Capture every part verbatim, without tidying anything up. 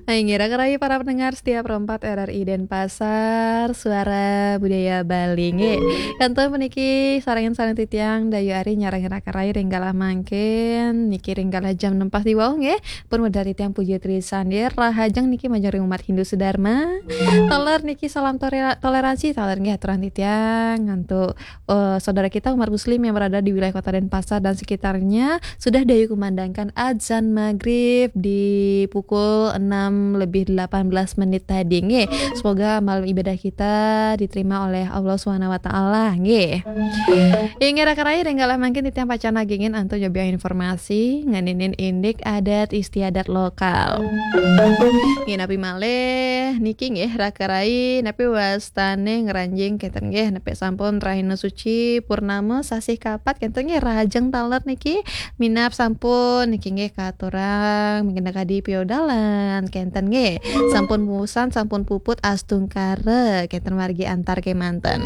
Hai, ngira kerai para pendengar setia Pro empat R R I Denpasar, suara budaya Bali nggih. Kantun puniki sareng-sareng titiang Dayu Ari nyarengin raka rai ring galah mangkin, niki ring galah jam enam pas di wau nggih. Pun medal titiang Puji Trisandi, rahajeng niki majeng ring umat Hindu Sudarma. Taler niki salam tore-, toleransi, taler nggih aturan titiang antuk eh, saudara kita umat muslim yang berada di wilayah Kota Denpasar dan sekitarnya sudah Dayu kumandangkan azan maghrib di pukul enam lebih delapan belas menit tadi nggih. Semoga malam ibadah kita diterima oleh Allah Subhanahu wa taala nggih. Inggih raka rai ring galah mangkin titiang pacang nagingin antuk nyobiahang informasi ngeninin indik adat istiadat lokal. Nggih napi malih niki nggih raka rai napi wastane ngranjing kenten nggih napi sampun rahina suci purnama sasih kapat kenten nggih rahajeng taler niki minab sampun niki nggih katurang mangkin kadi piodalan kenten nggih sampun musan sampun puput astungkara kenten margi antar kemanten.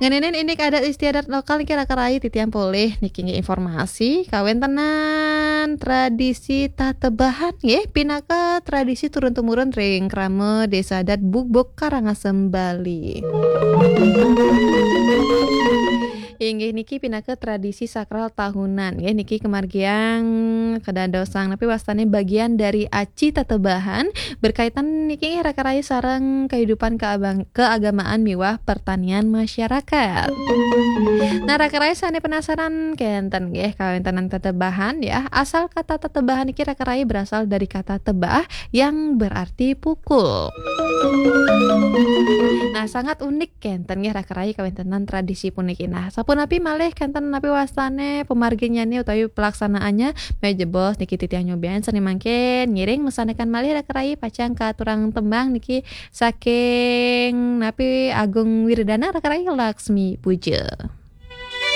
Ngeninin indik adat istiadat lokal niki raka rai titiang polih niki nggih informasi kawentenan tradisi tatebahan nggih pinaka tradisi turun temurun ring krama Desa Adat Bugbug Karangasem Bali. Inggih niki pinaka tradisi sakral tahunan nggih niki kemargiang kedadosang napi wastane bagian dari aci tatebahan berkaitan niki raka rai sareng kehidupan keabang-, keagamaan miwah pertanian masyarakat. Nah, raka rai sane penasaran kenten nggih kawentenan tetebahan ya. Asal kata tetebahan niki raka rai berasal dari kata tebah yang berarti pukul. Nah, sangat unik kenten nggih raka rai kawentenan tradisi puniki. Nah, sapunapi malih kenten napi wastane pemarginyane utawi pelaksanaannya, mejebos niki titiang nyobian sane mangkin ngiring mesanakan malih raka rai pacang katurang tembang niki saking napi Agung Wirdana raka rai Laksmi Puja.